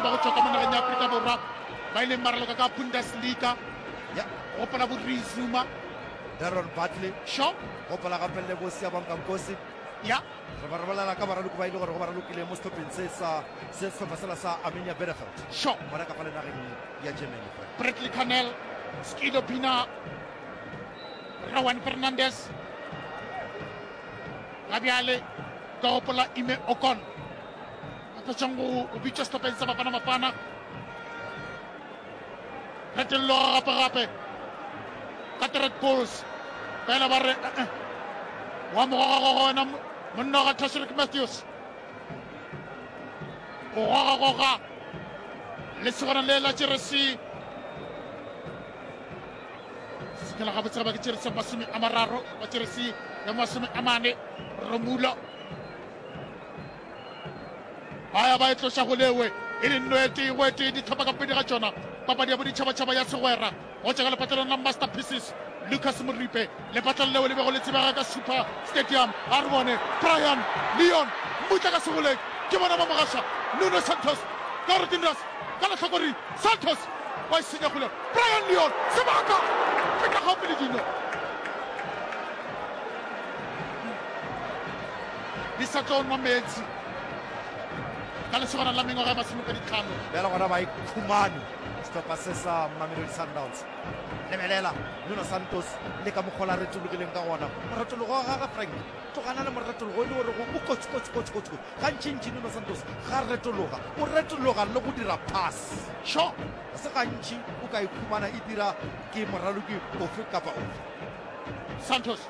Baraloki ba go tšwa ka mo nageng ya Afrika Borwa ba ileng ba raloka ka Bundesliga. Ya. Gopola bo Rui Zuma. Darren Bartley. Sure. Gopola gape le bo Siyabonga Nkosi. Ya. Re ba re bolela ka baraloki ba e le gore go ba ralokile mo sehlopheng se sa se sehlopha sela sa Arminia Bielefeld. Sure. Gona ka fa le nageng ya Germany. Frank. Bradley Carnell, Skido Pina, Rowan Fernandez. Ga bjale ka gopola Ime Okon. A fetšang go go bitšwa sehlopheng sa Bafana Bafana. Retello gape gape ka the Red Bulls. Fela ba re eh, eh. Wa mo gogagoga wena monna ga Tashreeq Matthews. O gogagoga lesogana le la jeresi sekela gabotse ga ba ke jeresi ya 30 ba jeresi ya 40 Romulo. Ba ya ba e tloša go lewe e le nno e tee go e tee dihlopha ka bobedi ga tšona. Papadi ya boditšhabatšhaba ya segwera go tšwa ka lepatlelong la Masterpieces Lucas Moripe, lepatlelo leo le bego le tsebega ka Super Stadium. A re bone Brian Leon Mmutla ka segoleng, ke bona ba mogaša Nuno Santos ka gore Dinras ka lehlakoreng Santos wa e senya kgole Brian Leon sebaka feta gaufi le dino. Di sa tlo nwa meetse ka lesogana la mengwaga e masomepeditlhano. Bjale gona ba ikhumane sehlopha se sa Mamelodi Sundowns. Lebelela Nuno Santos le ka mokgwa la retologileng ka gona. Moretologo wa gagwe Frank, tlogana le moretologo e le gore o kotsi kotsi kotsi kotsi kotsi. Gantšintši Nuno Santos ga retologa, o retologa le go dira pass. Sure. Ga se gantši o ka ikhumana e dira ke moraloki ofe kapa ofe. Santos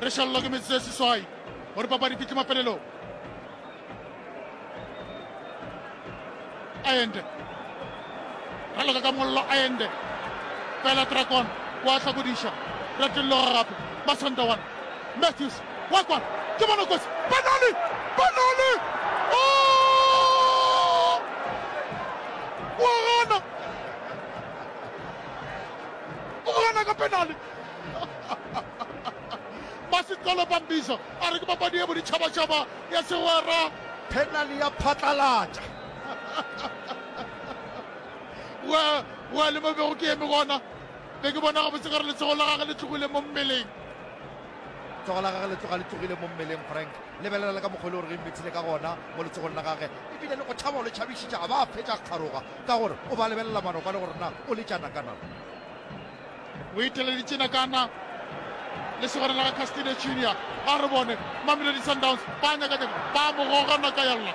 Re šalelwa ke metsotso e seswai gore papadi fihle mafelelong. Aende raloka ka mollo Aende fela Dragon wa hlakodiša Retelloga gape Masandawana Matthews wa kwana ke bona kotsi penali penali oh! wa gana o gana ka penali Masitolo Bambiso a re ke papadi ye boditšhabatšhaba ya segwera. Penali ya phatlalatša. Wa wa le mo bego ke eme gona be ke bona gabotse gore letsogo la gage le tlogile mo mmeleng. Letsogo la gage le tloga le tlogile mo mmeleng Frank. Lebelela le ka mokgwa e le gore ge mmethile ka gona mo letsogong la gage ebile le go tšhaba o le tšhabišitša a ba a fetša kgaroga ka gore o ba lebelela manokwane gore na o letša nakana. O iteleditše nakana le segwera la ga Castillo Junior. A re bone Mamelodi Sundowns ba nyakanyaka ba mo goga naka ya lla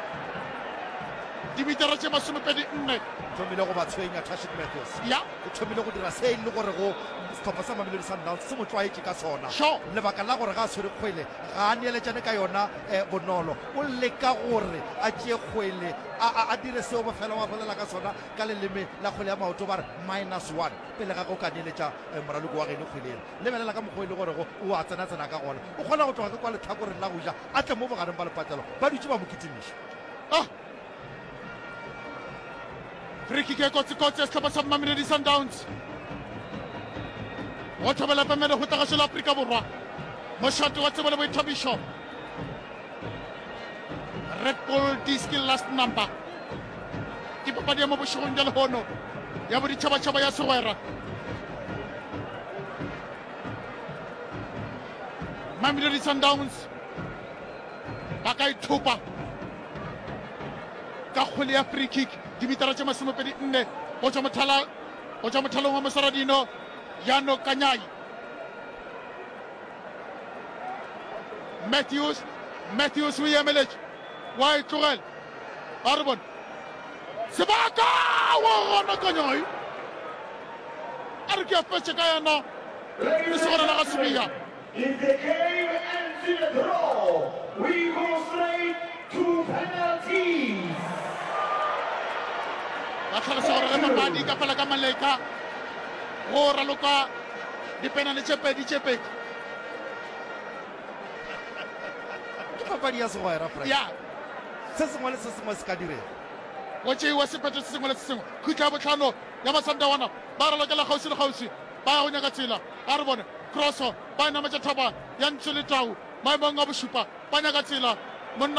dimitara tše 24. Thomile go ba tshwenya Tashik Matthews. Ya. O thomile go dira se e le gore go sehlopha sa Mamelodi Sundowns se mo tlwaetše ka sona. Sure. Lebaka la gore ga a tshwere kgwele ga a neeletšane ka yona eh, bonolo. O leka gore a tšee kgwele a, a, a dire seo ba fela ba bolela ka sona ka leleme la kgwele ya maoto ba re minus one. Pele ga ge o ka neeletša moraloko wa geno kgwele yela, lebelela ka mokgwa o e le gorego o a tsena-tsena ka gona. O kgona go tloga ka kwa lehlakoreng la go ja a tle mo bogareng ba lepatlelo, ba dutše ba mo kitimiša. Ah! Free kick e kotsi-kotsi ya sehlopha sa Mamelodi Sundowns. Go thobela pemele go tagašo la Afrika Borwa. Mošate wa tsebo le boithabišo. Red Bull Diski Last Number ke papadi ya mo bošegong bja lehono ya boditšhabatšhaba ya segwera. Mamelodi Sundowns ba ka ithopa ka kgwele ya free kick dimitara tše 24 go tšwa mothala go tšwa mothalong wa moswaradino Yano Kanyai. Matthews, Matthews o e emeletše, wa e tlogela. A re bone sebaka wa gona Kanyai. A re ke a fetše ka yena lesogana la ga Sibiya. If the game ends in a draw, we go straight to penalties. Ba hlalosa gore ge papadi e ka fela ka maleka go raloka dipenale tše pedi tše pedi. Ke papadi ya segwera, Frank. Ya. Se sengwe le se sengwe se ka direga. Go tšeiwa sephetho se sengwe le se sengwe. Khutla ya bohlano ya Masandawana ba ralokela kgauswi le kgauswi ba ya go nyaka tsela. A re bone kroso ba e nametša thaba ya Ntswe le Tau maemong a bošupa ba nyaka tsela. Monna.